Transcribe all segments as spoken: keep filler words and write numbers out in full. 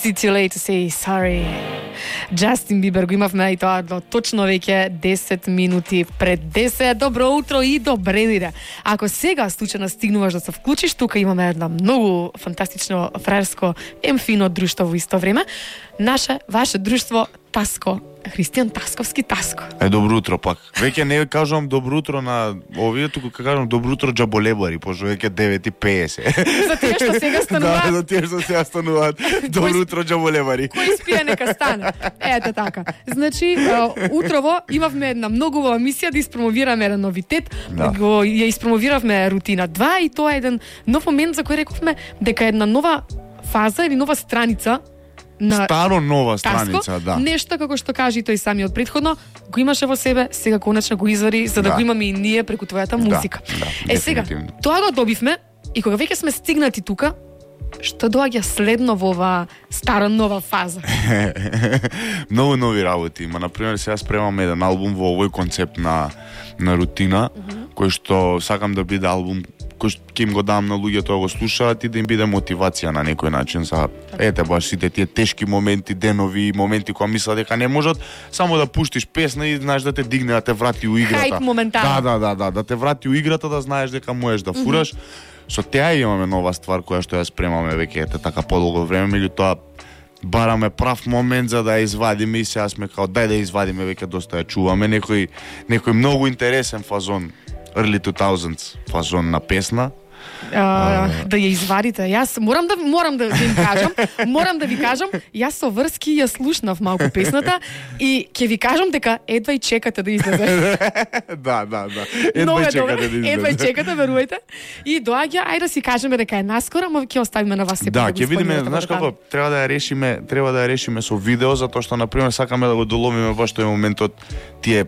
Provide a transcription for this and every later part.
Is it too late to say sorry? Джастин Бибер го имавме и тоа до точно веќе десет минути пред десет. Добро утро и добре дојде. Ако сега случајно стигнуваш да се вклучиш, тука имаме една многу фантастично фраерско емфино друштво во исто време. Наше, ваше друштво Таско, Христијан Тасковски Таско. Е, добро утро пак. Веќе не кажувам добро утро на овие, туку кажувам добро утро џаболебари, пошто веќе девет и песет. За тие што сега стануваат. Да, за тие што сега стануваат. Добро утро џаболебари. Кој спие нека стане. Ете така. Значи, утрово имавме една многу убава мисија да испромовираме еден новитет. Да. Го ја испромовиравме рутина два и тоа е еден нов момент за кој рековме дека една нова фаза или нова страница на Старо нова страница, Таско, да. Нешто како што кажи тој самиот претходно, го имаше во себе, сега конечно го извади за да, Да. го имаме и ние преку твојата музика. Да, е сега, дефинитивно. тоа го добивме и кога веќе сме стигнати тука, што доаѓа следно во оваа стара нова фаза? Многу нови работи. Ма, например, сега спремаме еден албум во овој концепт на, на рутина, mm -hmm. кој што сакам да биде албум кој што ќе им го дам на луѓето да го слушаат и да им биде мотивација на некој начин за ете баш сите тие тешки моменти, денови, моменти кога мислат дека не можат, само да пуштиш песна и знаеш да те дигне, да те врати у играта. Хајп моментално. Да, да, да, да, да те врати у играта, да знаеш дека можеш да фураш. Mm -hmm. Со теа имаме нова ствар која што ја спремаме веќе ете така подолго време, меѓутоа бараме прав момент за да ја извадиме и сега сме као дај да ја извадиме, веќе доста ја чуваме, некој некој многу интересен фазон, early two thousands фазон на песна. Uh, да ја извадите. Јас морам да морам да ви кажам, морам да ви кажам, јас со врски ја слушнав малку песната и ќе ви кажам дека едва и чекате да излезе. Да, да, да. Едва и чекате да излезе. Едва и чекате, верувајте. И доаѓа, ајде да си кажеме дека е наскоро, ама ќе оставиме на вас сепак да, да го ќе видиме, исполнувате знаеш како детали. треба да ја решиме, треба да ја решиме со видео, затоа што на пример сакаме да го доловиме баш тој моментот тие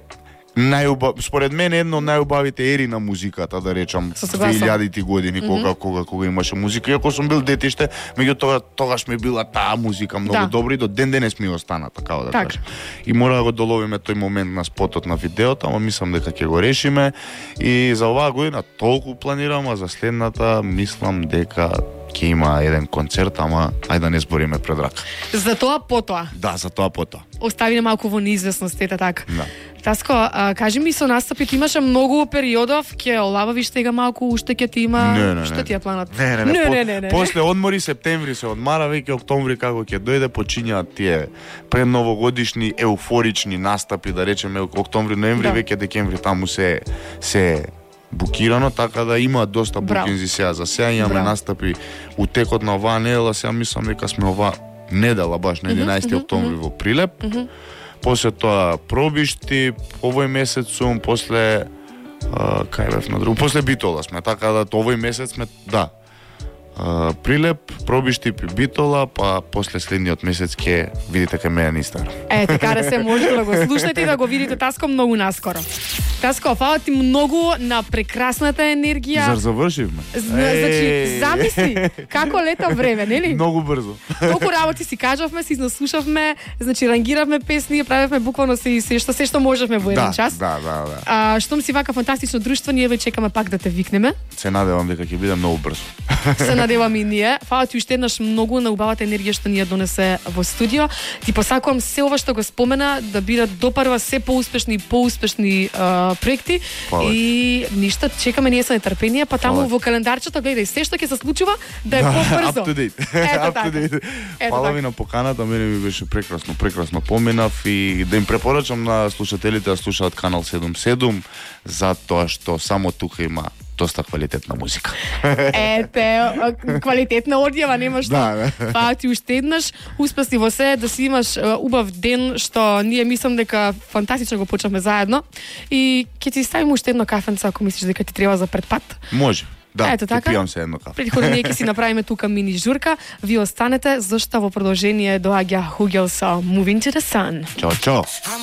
најубав, според мене едно од најубавите ери на музиката, да речам, две илјадити години, кога, mm -hmm. кога кога имаше музика. Иако сум бил детиште, меѓутоа тогаш ми била таа музика многу да. добра и до ден денес ми остана, така да так. кажам. И мора да го доловиме тој момент на спотот на видеото, ама мислам дека ќе го решиме и за оваа година толку планирам, а за следната мислам дека ќе има еден концерт, ама ајде да не збориме пред рака. За тоа потоа. Да, за тоа потоа. Оставиме малку во неизвестност, ета така. Да. Таско, а, кажи ми со настапите имаше многу периодов, ќе олабавиш тега малку, уште ќе ти има, не, не, што не. ти е планот? Не, не, не. не, по, не, не, не. После одмори септември се одмара, веќе октомври како ќе дојде почињаат тие предновогодишни еуфорични настапи, да речеме октомври, ноември, да. веќе декември таму се се букирано, така да има доста букинзи сега. За сега имаме Браво. настапи у текот на оваа недела, сега мислам дека сме оваа недела баш на единаесети октомври во Прилеп. Mm -hmm. После тоа пробишти, овој месец сум, после а, кај бев на друго, после Битола сме, така да овој месец сме, да. А, Прилеп, пробишти, Битола, па после следниот месец ќе видите кај мене на Инстаграм. Е, така да се може да го слушнете и да го видите Таско многу наскоро. Таско, фала ти многу на прекрасната енергија. Зар завршивме? Значи, замисли како лета време, нели? Многу брзо. Толку работи си кажавме, си изнаслушавме, значи рангиравме песни, правевме буквално се и се што се што можевме во еден да, час. Да, да, да. А штом си вака фантастично друштво, ние ве чекаме пак да те викнеме. Се надевам дека ќе биде многу брзо. Се надевам и ние. Фала ти уште еднаш многу на убавата енергија што ни ја донесе во студио. Ти посакувам се ова што го спомена да бидат допарва се поуспешни и поуспешни uh, проекти. Фала. И ништо, чекаме ние со нетрпение, па таму Фала. во календарчето гледај се што ќе се случува да е побрзо. Up to date. Ето Up to така. date. Ето Фала така. ви на поканата, мене ми беше прекрасно, прекрасно поминав и да им препорачам на слушателите да слушаат Канал седум седум, затоа што само тука има доста квалитетна музика. Ете, квалитетна одјава, нема што. Да, да. Па ти уште еднаш успеси во се, да си имаш е, убав ден, што ние мислам дека фантастично го почнавме заедно. И ќе ти ставим уште едно кафенце ако мислиш дека ти треба за предпат. Може. Да, Ето така. пијам се едно кафе. Предходно ние ќе си направиме тука мини журка. Ви останете, зашто во продолжение доаѓа Хугел со Moving to the Sun. Чао, чао.